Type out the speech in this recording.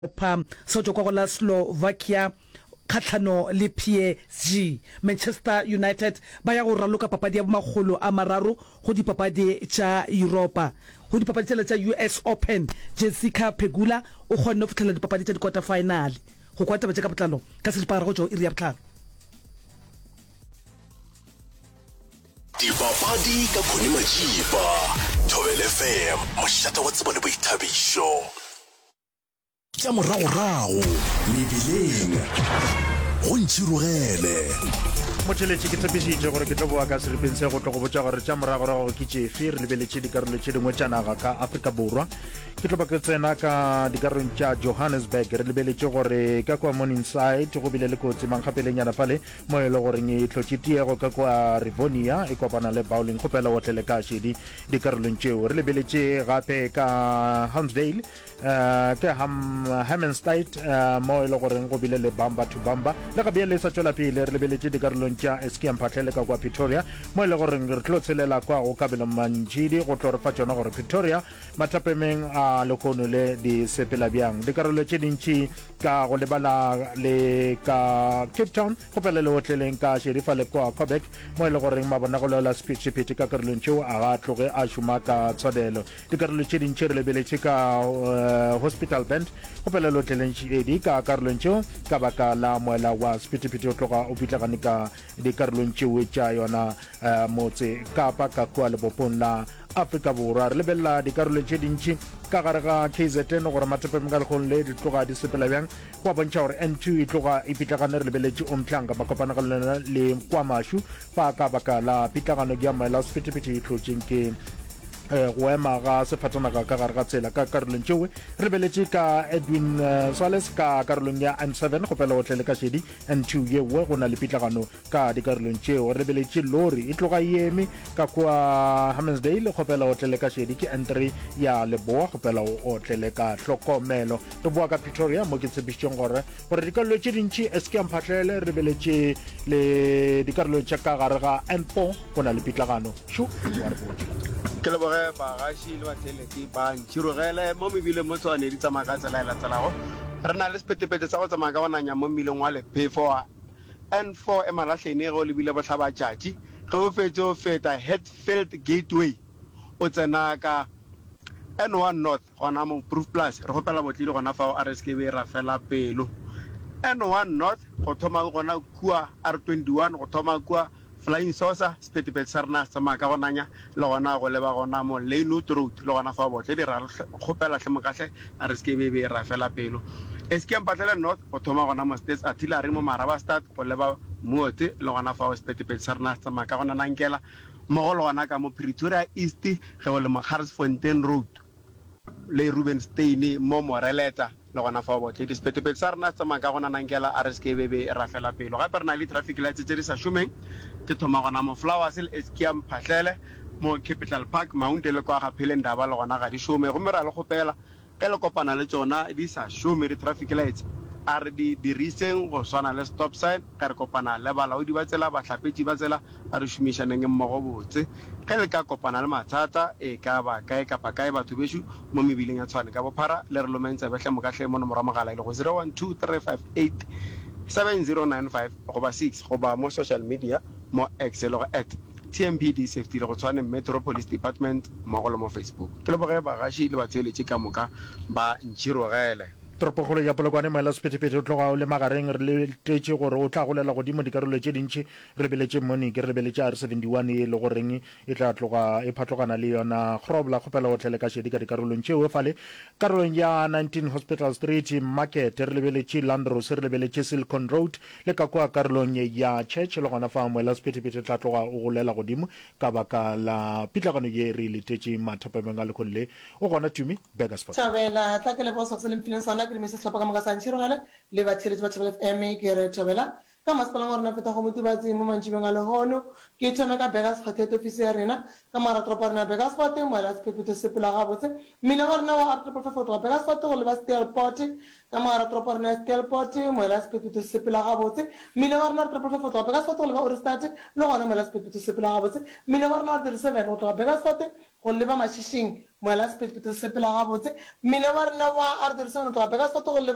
Sehlopha sa tšwa kwa go la Slovakia kgahlano le PSG. Manchester United ba ya go raloka papadi ya bomakgolo a mararo go dipapadi tša Yuropa. Go dipapadi tšela tša US Open, Jessica Pegula o kgonne go fihlelela dipapadi tša dikota-faenale. Go kwa taba tše ka botlalo ka seripagare go tšwa go iri ya bohlano. Dipapadi ka Connie Majiba, Thobela FM, mošate wa tsebo le boithabišo. Tša moragorago mebileng go ntšhirogele. Motheletši, ke tshepišitše gore ke tlo boa ka seripeng se go tlo go botša gore tša moragorago ke tšefe. Re lebeletše dikarolo tše dingwe tša naga ka Afrika Borwa. Ke tlo ba ke tsena ka dikarolong tša Johannesburg. Re lebeletše gore ka kua Morningside go bile le kotsi mankgapelenyana fale mo e le goreng e hlotše tiego ka kua Rivonia e kopana le Bowling. Kgopela o otlele ka šedi dikarolong tšeo. Re lebeletše gape ka Hamsdale Uh, ke Ham, Hammenstein uh, mo e le goreng go bile le bamba to bamba le ga bjale e sa tšwela pele re lebeletše dikarolong tša Eskia Mphahlele ka kwa Pretoria mo e le goreng re tlo tshelela kwa go Kabelo Mantšidi go tlo re fa tšona gore Pretoria mathapemeng a lehono le di sepela bjang dikarolo tše dintši ka go lebala le ka Cape Town go pele le otleleng ka Sherifa le kwa Coburg mo e le goreng mabonagolo la sephethephethe ka karolong tšeo a ga tloge a šoma ka tshwanelo Dikarolo tše dintši re lebeletše ka Hospital Bend go pelelo tleleng edi ka karolong tšeo ka baka la moela wa sephethephethe o tloga o pitlagane ka dikarolong tšeo tša yona motse Kapa ka kua lebopong la Afrika Borwa. Re lebelela dikarolo tše dintši ka gare ga KZN gore mathapeng ka lekgong le di tloga di sepela bjang. Go a bontšha gore N2 e tloga e pitlagane re lebeletše Umhlanga makopanagalo le Kwamashu fa ka baka la pitlagano ya moela wa sephethephethe e hlotšeng ke go ema ga sefatanaga ka gare ga tsela ka karolong tšeoe re lebeletše ka Edwin Swales ka karolong ya N7 kgopela o tlele ka šedi N2 yeoe go na le pitlagano ka dikarolong tšeo re lebeletše lori e tloga e eme ka kua Hammansdale kgopela o tlele ka šedi ke N3 ya Leboa kgopela o otlele ka hlokomelo re boa ka Pretoria mo ke tshepišitšeng gore gore dikarolo tše dintši SK Mphahlele re lebeletše le dikarolo tša ka gare ga N4 go na le pitlagano Šo wa re botša. Ke leboge bagaši le batheeletši ba Ntšhirogele mo mebileng mo Tshwane di tsamaya ka tsela e latelago. Re na le sephetephethe sa go tsamaya ka go nanya mo mmileng wa Lephefo wa N4 Emalahleni ge o lebile bohlabatšatši. Ge o fetše o feta Hatfield Gateway o tsena ka N1 North gona mo Proefplaas. Re kgopela botledi gona fao a re se ke be ra fela pelo. N1 North go thoma gona kua R21 go thoma kua Flying Saucer, sephethephethe sa rena se tsamaya ka go nanya, le gona go leba gona mo Lynnwood Road, le gona fao botledi ra re kgopela hle mokahle a re se ke be be ra fela pelo. Eskia Mpahlele North, go thoma gona mo States Artillery mo Marabastad go leba Moot, le gona fao sephethephethe sa rena se tsamaya ka go nanankela, mmogo le gona ka mo Pretoria East ge o le mo Garsfontein Road. Le Rubenstein mo Moreleta, le gona fao baotledi. Sephethephethe sa rena se tsamaya ka go nanankela, a re se ke be be ra fela pelo. Gape re na le di-traffic lights tše di sa šomeng, ke thoma gona mo Flowers le Eskia Mphahlele, mo Capital Park, Maunte le kwa ga Phelendaba le gona ga di šome. Gomme ra le kgopela ge le kopana le tšona di sa šome di-traffic lights, a re di diriseng go swana le stop sign ge re kopana le balaodi ba tsela, bahlapetši ba tsela, A re šomišaneng mmogo botse. Ge le ka kopana le mathata, e ka ba kae kapa kae, batho bešo mo mebileng ya Tshwane ka bophara, le re lomeng tsebe hle moka hle mo nomoro ya mogala e lego 0123587095 goba 6 goba mo social media mo X e lego at TMPD Safety le go Tshwane Metro Police Department mmogo le mo Facebook. Ke leboge bagaši le batheeletši ka moka ba ntšhirogele. Toropokgolo ya Polokwane, Moela Sephethephethe o tloga o le magareng. Re letetše gore o tla golela godimo dikarolo tše dintši. Re lebeletše Monique, re lebeletše R71 ye e le goreng e tla tloga e phatlogana le yona Grobler. Kgopela o tle le ka šedi ka dikarolong tšeo. Fale karolong ya 19 Hospital Street, Market, re lebeletše Landros, re lebeletše Silicon Road le ka kua karolong ya Church. Le gona fa Moela Sephethephethe o tla tloga o golela godimo ka baka la pitlagano ye re e letetše mathapameng a lehono le. O gona Tumi Burgersfort. Thobela, tla ke leboge sehlopha se le mphileng sona, ke dumedise sehlopha ka moka sa Ntšhirogele le batheeletši ba Thobela FM, ke re Thobela ka masepaleng wa rena feta go Motubatsi mo mantšibeng a lehono. Ke thome ka Burgersfort head office ya rena ka mogara toropo ya rena ya Burgersfort, moela sephethephethe se sepela gabotse. Mmila wa rena wa R triple five go tloga Burgersfort go leba Steelpoort. Ka mo gare ga toropo ya rena ya Steelpoort, moela wa sephethephethe se sepela gabotse. Mmila wa rena wa R345 go tloga Burgersfort go leba Ohrigstad le gona moela wa sephethephethe se sepela gabotse. Mmila wa rena wa R37 go tloga Burgersfort go leba Mashishing, moela wa sephethephethe se sepela gabotse. Mmila wa rena wa R37 go tloga Burgersfort go leba.